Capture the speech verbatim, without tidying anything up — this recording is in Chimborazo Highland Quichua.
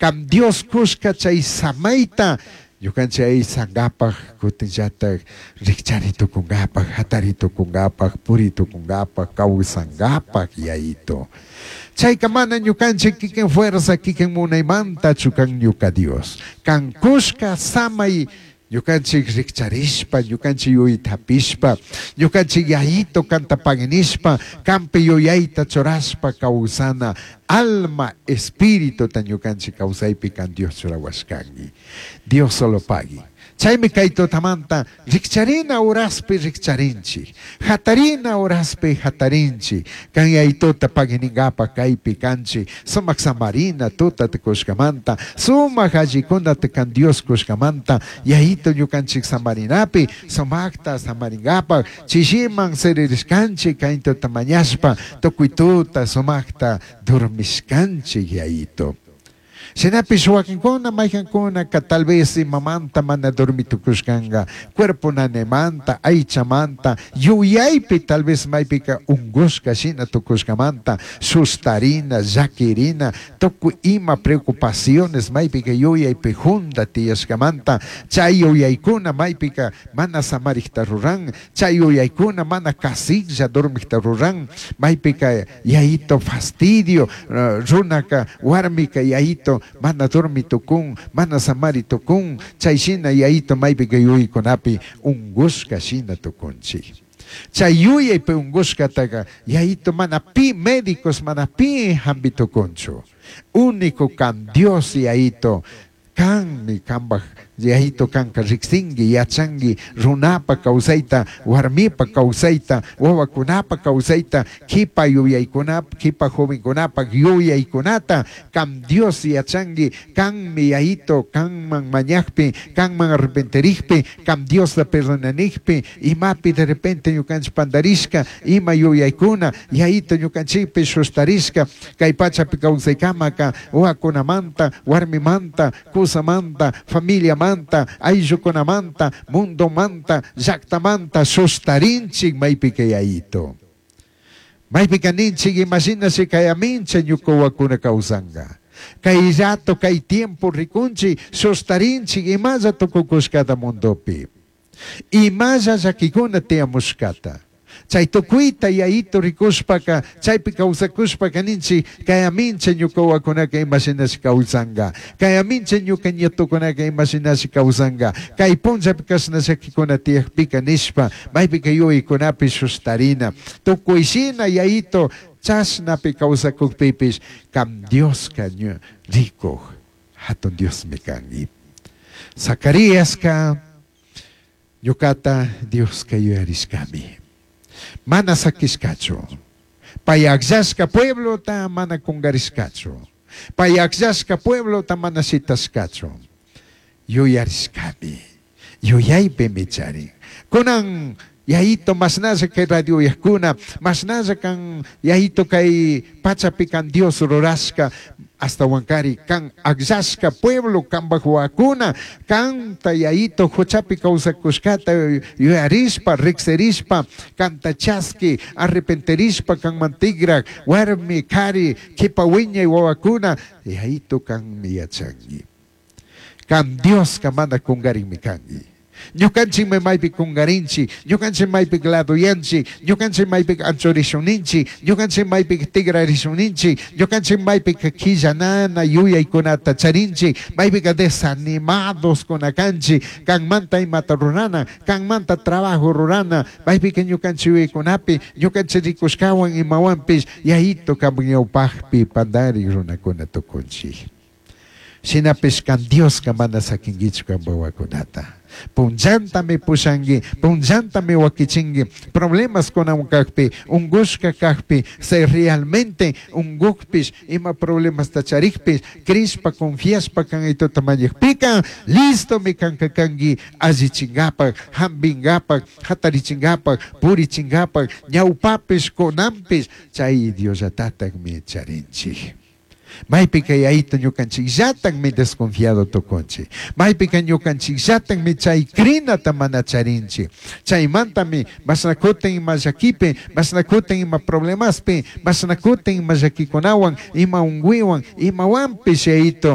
Kan Dios kushka chay samayta ñukanchik aysankapak, kutinllatak rikchari tukunkapak, hatari tukunkapak, puri tukunkapak, kawsankapak, Yayito. Chayka mana ñukanchik kikin fuerza, kikin munaymantachu kan, ñuka Dios. Kan kushka samay ñukanchik rikcharishpa, ñukanchik yuyayta hapishpa, ñukanchik Yayito kanta paginishpa, kanpi yuyayta churashpa kawsana, alma, espirituta ñukanchik kawsaypi kan Dios churawashkanki. Dios solo pagui. Chaymi kay tutamanta rikcharina horaspi rikcharinchik, hatarina horaspi hatarinchik, kan Yayituta paginingapa kaypi kanchik, sumak samarina tuta kushkamanta, sumak allikunata kan Dios kushkamanta, Yayito ñukanchik samarinapi, sumakta samaringapa, chishiman siririshkanchik kay tuta mañashpa, tukuy tuta sumakta dormishkanchik, Yayito. Shinapish wakinkuna, maykankunaka tal vez imamanta mana dormi tukushkanka, cuerpo nanemanta, aychamanta, yuyaypi tal vez maypika ungushka shina tukushkamanta, sustarina, llakirina, tukuy ima preocupaciones maypika yuyaypi junda tiyashkamanta, chay yuyaykuna maypika mana samarikta ruran, chay yuyaykuna mana kasiklla dormikta ruran, maypika, Yayito, fastidio, uh, runaka, warmika, Yayito, mana dormi tukun, mana samari tukun, chay shina, Yayito, maypika yuyaykunapi ungushka shina tukunchik. Chay yuyaypi ungushkataka, Yayito, mana pi médicos, mana pi hampi tukunchu. Único kan Dios, Yayito, kanmi kambaj, Yayito, kanka riksinki, yachanki runapa kawsayta, warmipa kawsayta, wawakunapa kawsayta, kipa yuyaykunapa, kipa jovenkunapa yuyaykunata, kan Dios yachanki, kanmi, Yayito, kanman mañakpi, kanman arrepentirikpi, kan Diosta perdonanikpi, imapi de repente ñukanchik pandarishka, ima yuyaykuna, Yayito, ñukanchikpi sustarishka, kay pachapi kawsaykamaka, wawakunamanta, warmimanta, kusamanta, familiamanta, ayllukunamanta, mundomanta, llaktamanta sustarinchik maypika, Yayito. Maypika ninchik imashinashi kayamincha ñuka wawakuna kawsanka. Kay rato, kay tiempo rikunchik, sustarinchik imalla tukukushkata mundopi. Imalla llakikuna tiyamushkata. Chay tukuyta, Yayito, rikushpaka, chaypi kawsakushpaka ninchik kayamincha ñuka wawakunaka imashinashi kawsanka. Kayamincha ñuka nietukunaka imashinashi kawsanka. Kay punllapi kashna llakikuna tiyakpika nishpa, maypika yuyaykunapi sustarina. Tukuy shina, Yayito, chashnapi kawsakukpipish, kam Dioska rikuj, hatun Diosmi kanki. Zacaríaska ñukata Dioska yuyarishkami. Mana sakishkachu. Pay akllashka pueblota mana kungarishkachu. Pay akllashka pueblota mana shitashkachu. Yuyarishkami. Yuyaypimi charin. Kunan, Yayito, mashnalla kay radio uyajkuna, mashnalla kan, Yayito, kay pachapi kan Dios rurashka, ashtahuankari kan akllashka pueblo, kambaj wawakuna, kanta, Yayito, huchapi kawsakushkata yuyarishpa, riksirishpa, kanta chaski, arrepentirishpa kanman tikrak, warmi, kari, kipa wiñay wawakuna, Yayito, kanmi yachanki. Kan Dioska mana kungarinmi kanki. Ñukanchikmi maypi kungarinchik, ñukanchik maypi ladoyanchik, ñukanchik maypi anchurishunninchik, ñukanchik maypi tigrarishunninchik, ñukanchik maypi quillanana yuyaykunata charinchik, maypika desanimados kunakanchik, kanmanta imata rurana, kanmanta trabajo rurana, maypika ñukanchik yuyaykunapi, ñukanchik rikushkawan imawanpish, Yayito, kanpak ñawpakpi pandarik runakuna tukunchik. Shinapish kan Dioska mana sakinkichu kanpak wawakunata. Punllantami pushanki, punllantami wakichinki, problemas kunawan kakpi, ungushka kakpi, se realmente ungukpish, ima problemasta charikpish, crishpa, confiashpa kan Yayituta mañakpika, listomi kanka kanki allichinkapak, hampinkapak, hatarichinkapak, purichinkapak, ñawpapish, kunanpish, chay Diosllatatakmi charinchik. Maypika, Yayito, ñukanchikllatakmi desconfiado tukunchik. Maypika ñukanchikllatakmi chay crinata mana charinchik. Chaymantami mashna kutin ima llakipi, mashna kutin ima problemaspi, mashna kutin ima llakikunawan, ima unkuywan, imawanpish, Yayito.